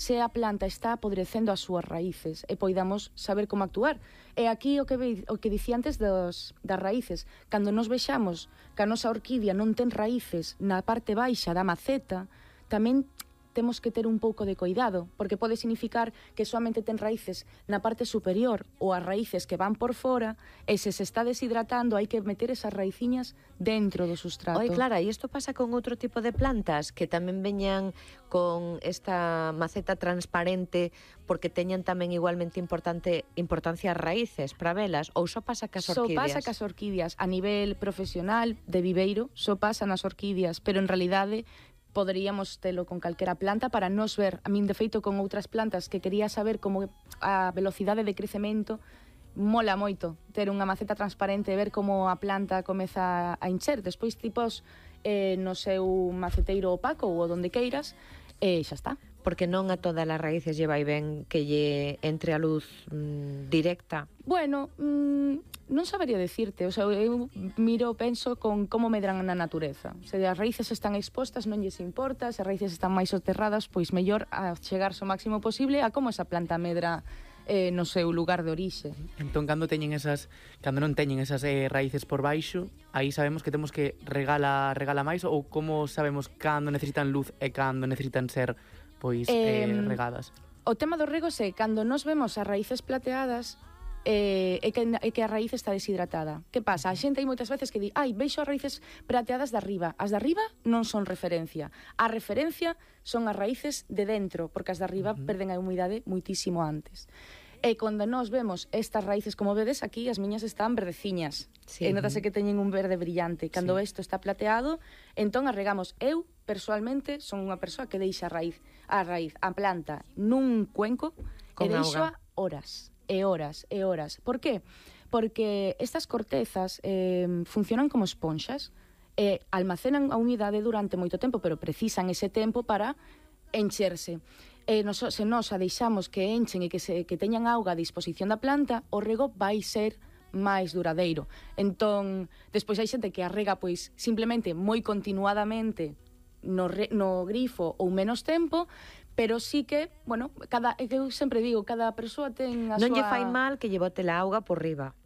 se a planta está apodrecendo as súas raíces e poidamos saber como actuar. E aquí o que dicía antes das raíces, cando nos vexamos que a nosa orquídea non ten raíces na parte baixa da maceta, tamén temos que ter un pouco de cuidado, porque pode significar que soamente ten raíces na parte superior ou as raíces que van por fora, e se está deshidratando hai que meter esas raiciñas dentro do sustrato. Oi, Clara, e isto pasa con outro tipo de plantas que tamén veñan con esta maceta transparente porque teñan tamén igualmente importancia as raíces para velas, ou só pasa cas orquídeas? Só pasa cas orquídeas a nivel profesional de viveiro, só pasa nas orquídeas, pero en realidade poderíamos telo con calquera planta para nos ver. A min, de feito, con outras plantas que quería saber como a velocidade de crecemento, mola moito ter unha maceta transparente e ver como a planta comeza a encher. Despois tipos no seu maceteiro opaco ou onde queiras, e xa está. Porque non a todas as raíces lle vai ben que lle entre a luz directa? Bueno, non sabería decirte, o sea, eu penso con como medran na natureza. Se as raíces están expostas non lles importa, se as raíces están máis soterradas, pois mellor a chegarse o máximo posible a como esa planta medra no seu lugar de orixe. Entón, cando non teñen esas raíces por baixo, aí sabemos que temos que regala máis, ou como sabemos cando necesitan luz e cando necesitan ser regadas? O tema dos regos é cando nos vemos as raíces plateadas é que a raíz está deshidratada. Que pasa? A xente hai moitas veces que di veixo as raíces prateadas de arriba. As de arriba non son referencia. A referencia son as raíces de dentro, porque as de arriba perden a humidade moitísimo antes. E cando nos vemos estas raíces, como vedes aquí, as miñas están verdeciñas. Sí. E notase que teñen un verde brillante. Cando isto está plateado, entón arregamos. Eu, persoalmente, son unha persoa que deixa a planta nun cuenco con e deixo auga horas e horas e horas. Por qué? Porque estas cortezas funcionan como esponxas e almacenan a humidade durante moito tempo, pero precisan ese tempo para encherse. Se nos a deixamos que enchen e que teñan auga a disposición da planta, o rego vai ser máis duradeiro. Entón, despois hai xente que a rega pois simplemente moi continuadamente no grifo ou menos tempo, pero sí que, bueno, eu sempre digo, cada persoa ten a súa... Non lle fai mal que lle bote a auga por riba?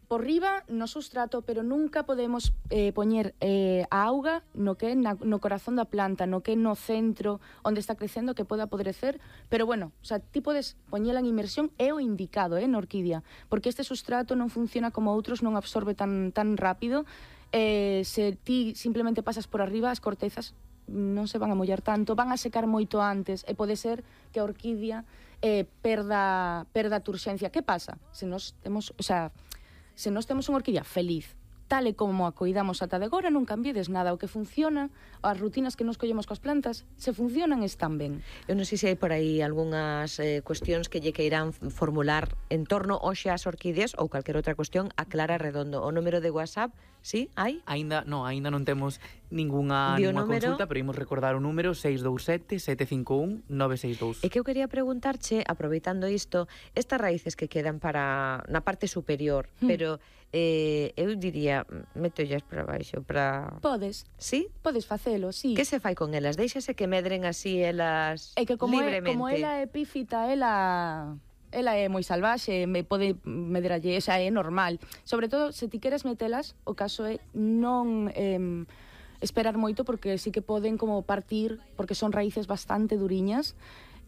Por riba no sustrato, pero nunca podemos poñer a auga no que é no corazón da planta, no que é no centro onde está crecendo, que pode apodrecer, pero bueno, o sea, ti podes poñela en inmersión, é o indicado, na orquídea, porque este sustrato non funciona como outros, non absorbe tan rápido. Se ti simplemente pasas por arriba, as cortezas non se van a mollar tanto, van a secar moito antes, e pode ser que a orquídea perda a turxencia. Que pasa? Se nós temos unha orquídea feliz, tal e como a coidamos ata de agora, non cambiedes nada. O que funciona, as rutinas que nos collemos coas plantas, se funcionan, están ben. Eu non sei se hai por aí algunhas cuestións que lle queiran formular en torno hoxe ás orquídeas ou calquer outra cuestión a Clara Redondo. O número de WhatsApp, sí, hai? Aínda non temos ningunha consulta, pero imos recordar o número 627-751-962. E que eu quería preguntarche, aproveitando isto, estas raíces que quedan na parte superior, pero eu diría, metollas para baixo, para... Podes. Sí? Podes facelo, sí. Que se fai con elas? Déixase que medren así elas libremente? É que como ela é epífita, ela é moi salvaxe, pode medralle, esa é normal. Sobre todo, se ti queres metelas, o caso é non esperar moito, porque sí que poden como partir, porque son raíces bastante duriñas.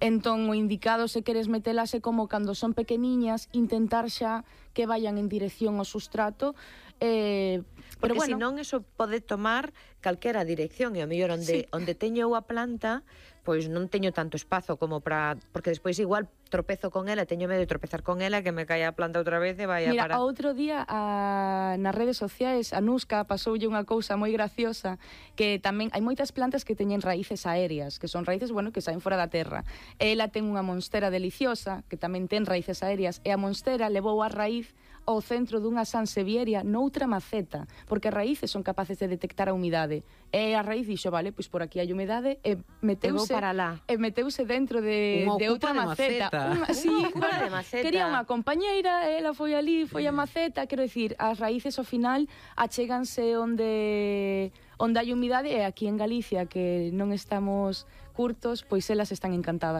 Entón, o indicado, se queres metelas, é como cando son pequeniñas, intentar xa que vayan en dirección ao sustrato. Porque bueno, senón eso pode tomar calquera dirección, e ao mellor onde teño a planta, pois non teño tanto espazo como para... Porque despois igual tropezo con ela, teño medo de tropezar con ela, que me caia a planta outra vez e vai a parar. Mira, outro día nas redes sociais a Nusca pasoulle unha cousa moi graciosa, que tamén hai moitas plantas que teñen raíces aéreas, que son raíces, bueno, que saen fora da terra. Ela ten unha monstera deliciosa, que tamén ten raíces aéreas, e a monstera levou a raíz ao centro dunha sansevieria noutra maceta, porque as raíces son capaces de detectar a humidade. E a raíz dixo, vale, pois por aquí hai humidade, e meteuse dentro de outra maceta. Quería unha compañeira, ela foi ali, foi a maceta, quero dicir, as raíces ao final achéganse onde hai humidade, e aquí en Galicia, que non estamos curtos, pois elas están encantadas.